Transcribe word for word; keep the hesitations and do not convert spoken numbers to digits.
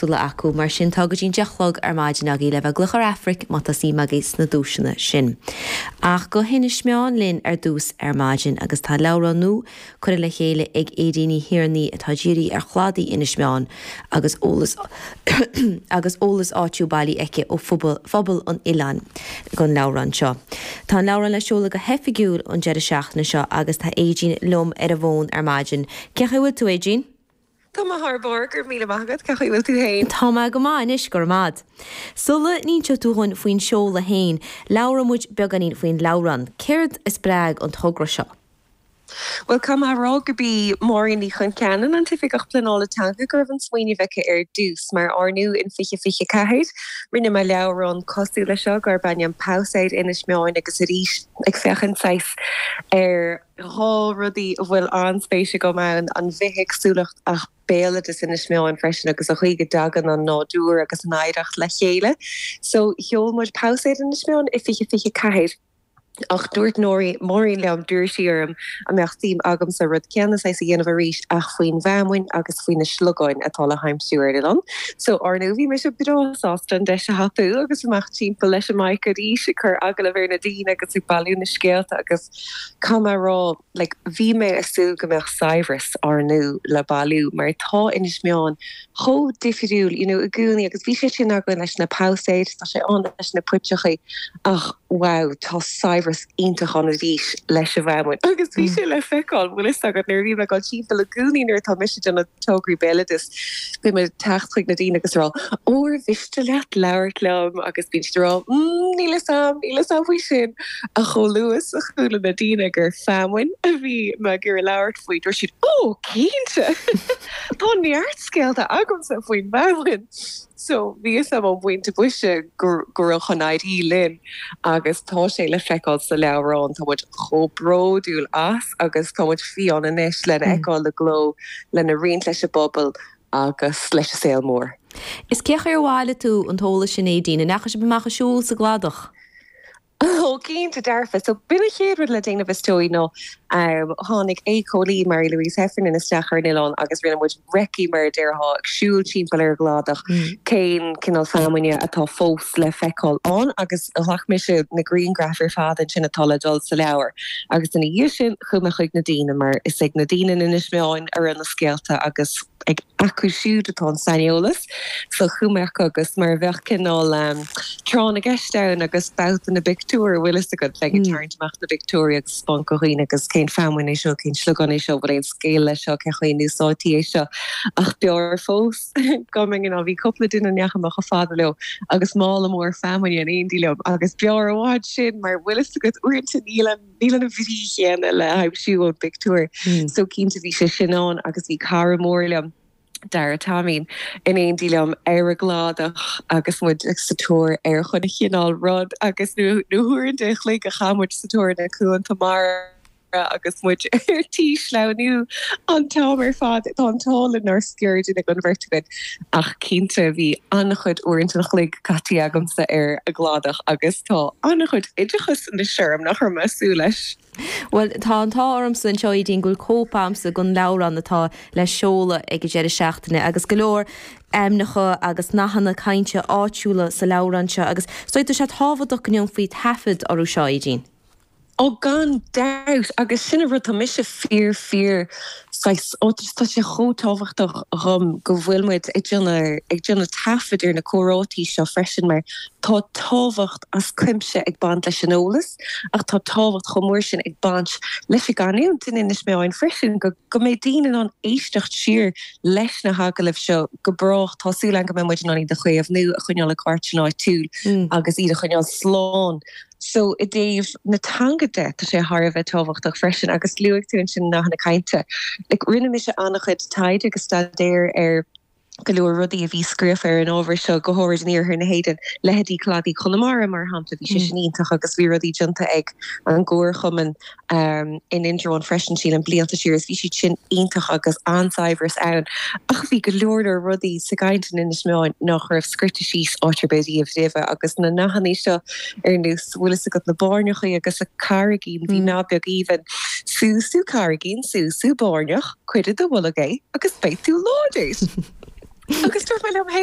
éagsúla acu mar sin tá go dtí an deich a chlog ar maidin agaibh le bheith ag glaoch ar Aifric má tá suim agaibh sna duaiseanna sin. Ach go hInis Meáin linn ar dtús ar maidin agus tá leabhrán nua curtha le chéile ag Aedín Ní Thiarnaigh atá dírithe ar chladaí Inis Meáin agus eolas agus eolas áitiúil bailithe aici ó phobal an oileáin don leabhrán seo. Tá an leabhrán le seoladh go hoifigiúil an deireadh seachtaine seo agus tá Aedín liom ar an bhfón ar maidin. Cén chaoi a bhfuil tú Aedín? Tá mé thar barr go raibh míle maith agat cén chaoi a bhfuil tú féin. Tá mé go maith anois go raibh maith. Sula n-inseoidh tú dhúinn faoin seoladh féin, labhróidh muid beagáinín faoin leabhrán. Céard a spreag an togra seo? Well caithfidh mé a rá gurb í Máirín Ní Chonceanainn an tOifigeach Pleanála Teanga go raibh an smaoineamh aici ar dtús mar ar ndóigh in fiche fiche ceathair. Rinne mé leabhrán cosúil leis seo gurb ainm Pabhsaeir Inis Meáin agus arís ag féachaint saghas ar dhá rudaí a bhfuil an-spéis agam ann an bhithéagsúlacht ach béaloideas Inis Meáin freisin agus an chaoi go dtagann an nádúr agus an oidhreacht le chéile. So sheol muid Pabhsaeir Inis Meáin i fiche fiche ceathair. Ach dúirt Máirín liom d'iarr sí orm an mbeadh suim agamsa rud céanna saghas a dhéanamh arís ach faoin bhfeamainn agus faoi na sliogáin atá le haimsiú ar an oileán. So ar ndóigh bhí mise breá sásta an deis a thapú agus amach timpeall leis an mic arís ag cur agallamh ar na daoine agus ag bailiú na scéalta agus caithfidh mé a rá like bhí mé ag súil go mbeadh saibhreas ar ndóigh le bailiú mar tá Inis Meáin chomh difriúil you know i gcónaí agus bhí sé sin againn leis na pabhsaeir tá sé ann leis na puiteachaí ach wow tá saibhreas iontach ann arís leis an bhfeamainn agus bhí sé le feiceáil bhfuil fhios agat nuair a bhí mé ag dul timpeall i gcónaí nuair atá mise ag déanamh tograí béaloidis bím ag teacht chuig na daoine agus rá ó ar mhiste leat labhairt liom agus bíonn siad ag rá mm, níl fhios a'm níl fhios a'm faoi sin ach chomh luath is a chuala na daoine gur feamainn a bhí mé ag iarraidh labhairt faoi dúirt siad ó cinnte Tá neart scéalta agamsa faoin bhfeamainn. So bhí fhios a'm ón bpointe boise go raibh chun éirí linn agus tá sé le feiceáil sa leabhrán tá muid chomh bródúil as agus tá muid fiáin anois lena fheiceáil i gcló lena roinnt leis an bpobal agus leis an saol mór. Is cén chaoi ar bhailigh tú an t-eolas sin Aedín, an ndeachaigh sibh amach ag siúl sa gcladach? Ó cinnte dearfa. So b'in an chéad rud le déanamh is dóigh nó um, tháinig éiceolaí Mary Louise Heffernan isteach ar an oileán agus rinne muid recce mar a déarfá ag siúl timpeall ar an gcladach mm. cén cineál feamainne atá fós le feiceáil ann agus ghlac mise na grianghraif ar fad sin atá le dul sa leabhar. Agus ina dhiaidh sin chuaigh mé chuig na daoine mar is ag na daoine in Inis Meáin a raibh na scéalta agus ag acu siúd atá an saineolas so chuaigh mé agus mar a bheadh cineál um, tráth na gceist ann agus babhta na bpictiúr bhfuil fhios agat bheinn ag tarraingt amach na bpictiúirí agus taispeáint do dhaoine agus cén feamainn é seo cén sliogán é seo bhfuil aon scéal leis seo cén chaoi a n-úsáidtí é seo ach b'fhearr fós go mbeinn ná bhí cúpla duine ndeachaigh mé chomh fada leo agus mála mór feamainne in éindí liom agus b'fhearr i bhfad sin mar bhfuil fhios agat uaireanta níl an níl an bhrí chéanna le haimsiú ón bpictiúr. So cinnte bhí sé sin ann agus bhí cara mór liom Dara Taimín in éindí liom ar an gcladach agus muid sa tóir ar chuile chineál rud agus na huaireanta an chloig a chaith muid sa tóir na cuanta mara agus muid ar tí sleamhnú an t-am ar fad tá an t-ádh linn nár sciorr duine den bheirt againn ach cinnte bhí an-chuid uaireanta an chloig caite agamsa ar an gcladach agus tá an-chuid oideachas anois orm nach raibh mé ag súil leis. Well tá an t-ádh ormsa anseo Aedín go bhfuil cóip agamsa den leabhrán atá le seoladh ag an deireadh seachtaine agus go leor ainmneacha agus nathanna cainte áitiúla sa leabhrán seo agus so tá sé tábhachtach go ndéanfaí taifead orthu seo Aedín. Ó gan dabht agus sin an rud tá mise fíor fíor saghas ó tá sé chomh tábhachtach dhom go bhfuil muid ag déanamh ag déanamh taifead ar na comhráití seo freisin mar tá tábhacht as cuimse ag baint leis an eolas ach tá tábhacht chomh mór sin ag baint leis an gcanúint in Inis Meáin freisin go go mbeidh daoine in ann éisteacht siar leis na hagallaimh seo go brách tá súil agam go mbeidh muid in ann iad a chaomhnú a choinneáil i gcartlann áitiúil agus iad a choinneáil slán. So i dtaobh na teanga de tá sé thar a bheith tábhachtach freisin agus luaigh tú ansin nathanna cainte. Like, rinne mise an-chuid taighde agus staidéar ar go leor rudaí a bhí scríofa ar an ábhar seo go háirid in iarthar na hÉireann leithéidí Cladaí Chonamara mar shampla bhí sé sin iontach agus bhí rudaí déanta ag an gComharchumann um, in Indreabhán freisin sílim blianta siar is bhí siad sin iontach agus an-saibhreas ann ach bhí go leor leor rudaí sa gcaint in Inis Meáin nach raibh scrite síos áit ar bith riamh roimhe agus na nathanna seo ar nós bhfuil fhios agat na báirneachaí agus a carraigín bhí nath beag aoibhinn sú sú carraigín sú sú báirneach cuir i do bholg é agus beidh tú láidir. Agus dúirt mé liom féin